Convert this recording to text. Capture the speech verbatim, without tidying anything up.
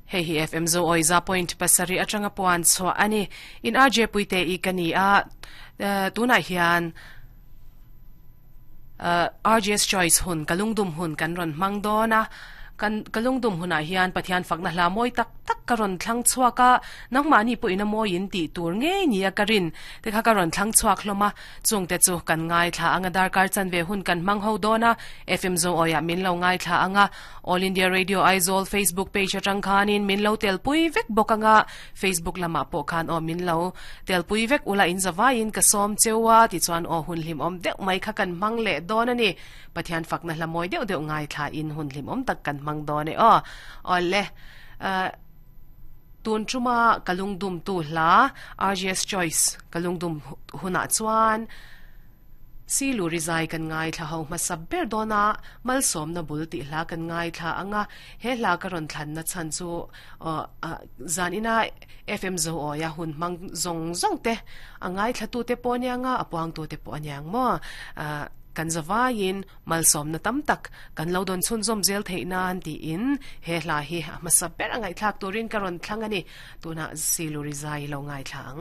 Hei hi F M zo oi za point pasari atanga puan chua ani in R J Puite i kani a tunah hian R J S Choice hun kalungdum hun kan ron mang dona kan kalungdum huna hian Pathian fakna hla moi tak tak karon thlang chuaka nangma ni pu ina moi in ti tur nge ni a karin te kha karon thlang chuak hloma chungte chu kan ngai thla anga dar kar chan ve hun kan mang ho dona F M zo oya min lo ngai thla anga All India Radio Aizawl Facebook page atang khanin min lo tel pui vek bokanga Facebook lama po khan o min lo tel pui vek ula in zawain ka som chewa ti chuan o hun hlim om deuh mai kha kan mang le dona ni Pathian fakna hla moi deuh deuh ngai thla in hun hlim om tak kan mang done o ole tun chuma kalungdum tu hla R J S Choice kalungdum huna chuan si lu rizai kan ngai thla ho ma sabber dona malsom na bul ti hla kan ngai thla anga he hla ka ron thlan na chan chu zanina F M zo o ya hun mang zong zong te angai thla tu te po nia nga apuang tu te po anyang mo kan zawain malsom na tamtak kan lodon chun zom zel theinan ti in he hla hi ma sabber angai thlak turin karon thlangani tuna silu rizai lo ngai thlang.